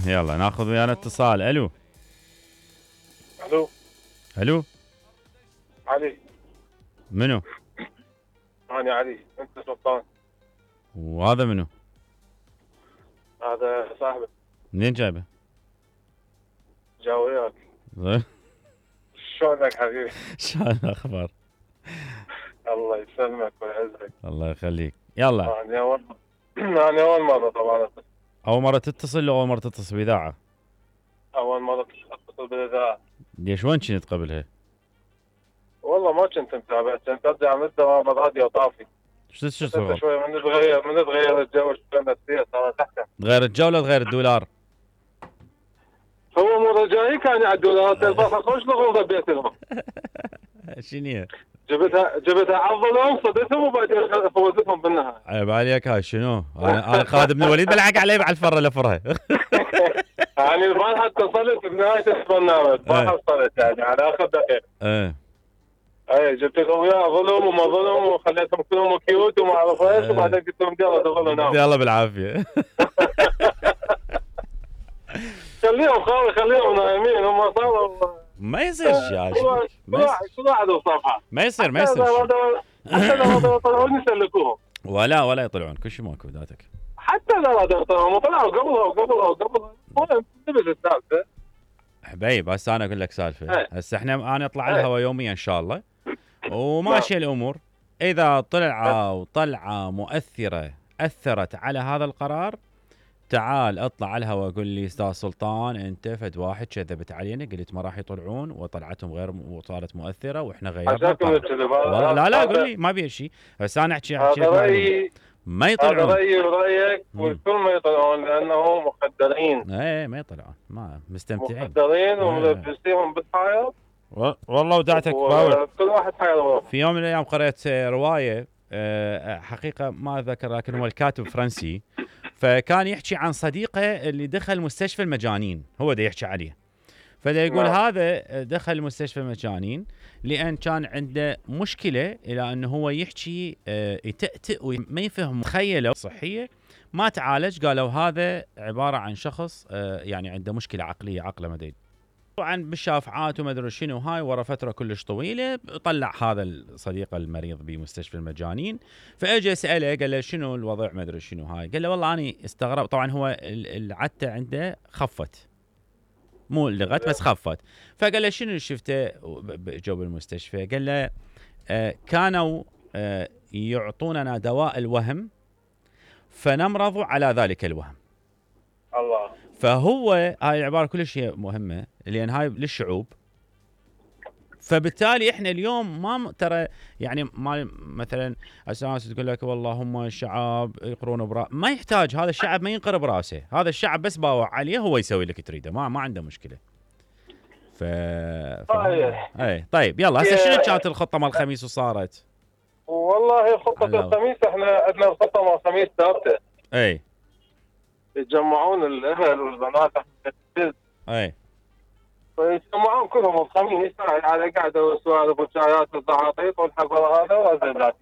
يلا ناخذ ويانا اتصال. الو الو الو علي. منو؟ انا علي، انت سلطان. وهذا منو؟ هذا صاحبي. منين جايبه؟ جا وياك. شلونك حبيبي؟ شلون الاخبار؟ الله يسلمك ويعزك. الله يخليك. يلا. انا اول مره طبعا. اول مره تتصل لو اول مره تتصل باذاعه؟ اول مره اتصل بالاذاعه. ليش وين كنت قبلها؟ والله ما كنت متابع، كنت ارجع من الدوام الراديو طافي. شو انت شوي من تغير الجو شوي النفسيه صارت احسن. تغير الجو ولا تغير الدولار؟ هو مره جاي كان يعدوا لها البصل خوش لغوصه بيتهم. شنو؟ جبتها عضلهم صدتهم وبعدين فوزتهم بالنهايه. عيب عليك هاي شنو؟ انا خالد بن الوليد بلعق عليه على الفره لفرها. يعني البارحه اتصلت بنهايه البرنامج، البارحه وصلت يعني على اخر دقيقه. اي جبت لهم وياه ظلم وما ظلم وخليتهم كلهم كيوت وما اعرف ايش، وبعدين قلت لهم يلا دخلوا ناموا. يلا بالعافيه. خليهم نايمين هم صاروا. ما يصير شيء. كل واحد وصفحه. ما يصير حتى لو يطلعون يسلكوهم. ولا يطلعون كل شيء ماكو ذاتك. حتى لو يطلعون طلعوا قبلها المهم نبذ السالفه. حبيب هسه انا اقول لك سالفه. هسه انا اطلع الهواء يوميا ان شاء الله وماشيه الامور. اذا طلعه مؤثره اثرت على هذا القرار، تعال اطلع على الهواء قول لي استاذ سلطان انت فد واحد كذبت علينا، قلت ما راح يطلعون وطلعتهم غير وصارت مؤثره واحنا غيرنا. لا قول لي ما بي شيء. بس انا احكي ما يطلعون. هذا رايي ورايك والكل ما يطلعون لانهم مخدرين. ما يطلعون، ما مستمتعين. مخدرين وملبسيهم بالحياه. والله ودعتك باور. كل واحد حياة. في يوم من الايام قرأت روايه حقيقه ما اذكر، لكن هو الكاتب فرنسي، فكان يحكي عن صديقه اللي دخل مستشفى المجانين، هو ده يحكي عليه. فدا يقول هذا دخل مستشفى المجانين لان كان عنده مشكله الى انه هو يحكي يتأتئ وما يفهم. تخيلوا صحيه ما تعالج، قالوا هذا عباره عن شخص يعني عنده مشكله عقليه، عقله ما ادري. طبعا بالشافعات وما ادري شنو هاي، ورا فتره كلش طويله طلع هذا الصديق المريض بمستشفى المجانين، فاجى ساله قال له شنو الوضع ما ادري شنو هاي، قال له والله انا استغرب. طبعا هو العته عنده خفت، مو لغت بس خفت. فقال له شنو شفته جو بالمستشفى؟ قال له كانوا يعطوننا دواء الوهم فنمرض على ذلك الوهم. الله. فهو هاي العباره كلش مهمه لان هاي للشعوب. فبالتالي احنا اليوم ما ترى يعني ما مثلا اساس تقول لك والله هم الشعب يقرون براس، ما يحتاج. هذا الشعب ما ينقر براسه، هذا الشعب بس باوع عليه هو يسوي لك تريده، ما عنده مشكله. اي طيب يلا هسه شنو كانت الخطه مال الخميس وصارت؟ والله خطه الخميس احنا عندنا الخطه مال الخميس ثابته. اي يتجمعون الاهل والبنات اي فيجمعون كلهم الخميس على قعده وسوالف وشايات وزعاطيط والحفل هذا وهذا